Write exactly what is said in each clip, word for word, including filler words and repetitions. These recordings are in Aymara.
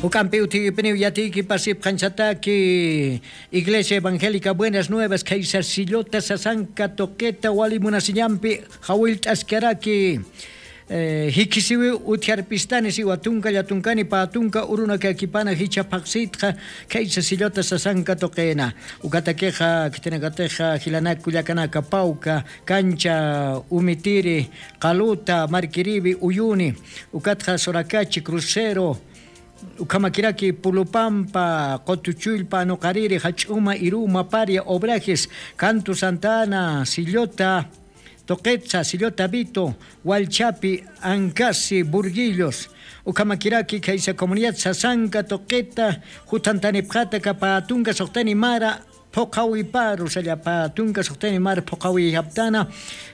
Juk'ampi utjikipiniw yatiykipasipxañsataki Iglesia Evangélica Buenas Nuevas khaysa sillota sasanka tuqita wali munasiñampi jawillt'askaraki. Jikisiwiw utjarpistani siwa tunka llatunkani pä tunka urunakakipana jichha phaqsitxa khaysa sillota sasanka tuqina. Ukatakixa khitinakatixa jilanak kullakanaka pawka kancha umitiri qaluta markiriwi uyuni ukatxa surakachi crucero. Ukhamakiraki pulupampa qutuchullpa anuqariri jach'uma iruma paria obrajes canto santana sillota tuqitsa sillota vito wallchapi ankasi burguillos. Ukhamakiraki khaysa comunidad sasanka tuqita juthantanipxata kapatunka suqtani mara phuqhawiparu sallapatunka suqtani mara phuqhawiyaptana.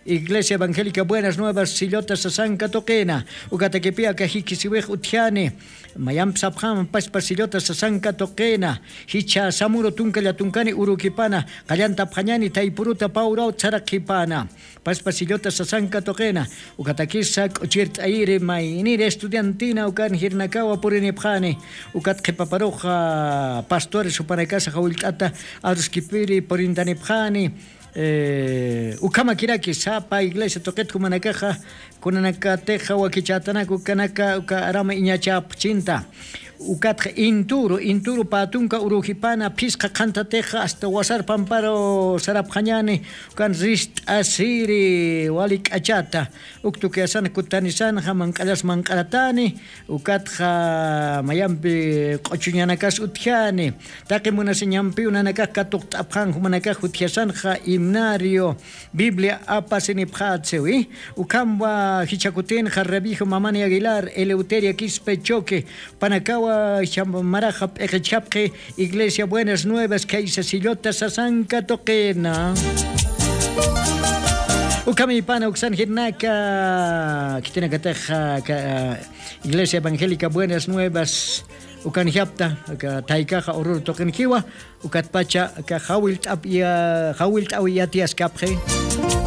Iglesia evangélica buenas nuevas sillota sasanka tuqina. Ukatakipi aka jikisiwix utjani mayampi sapxama paspa sillota sasanka tuqina. Jichha samuru tunka llatunkani urukipana qallantapxañani taypuruta pawraw tsaraqhipana. Paspa sillota sasanka tuqina. Ukatakisa k'uchirt'ayiri mayniri estudiantina ukan jirnakawa purinipxani. Ukat qhipaparuxa pastores jupanakasa jawillt'ata aruskipiri purintanipxani. Ukhamakiraki sapa iglesia tuqit jumanakaxa kunanakatixa wakichätanak ukanaka uka arama iñachäpxchinta. Ukatxa inturu inturu pä tunka urujipana phisqa qhantatix asta wasar pamparu sarapxañani. Ukan rist'asiri wali k'achata uk tukiyasan kutanisanxa manq'allas manq'aratani. Ukatxa mayampi q'uchuñanakas utjani taqi munasiñampiw nanakax katuqt'apxan jumanakax jutjasanxa himnario biblia apasinipxätsiwi. Ukhamwa jichhakutinxa revijo mamani aguilar eleuteria quispe choque panakawa jichha maraxa p'iqichhapxi. Iglesia buenas nuevas khaysa sillota sasanka tuqina. Ukhamipana uksan jirnaka khitinakataxa iglesia evangélica buenas nuevas ukanjapta taykaxa ururu tuqinjiwa. Ukatpacha aka jawillt'awi yatiyaskapxi.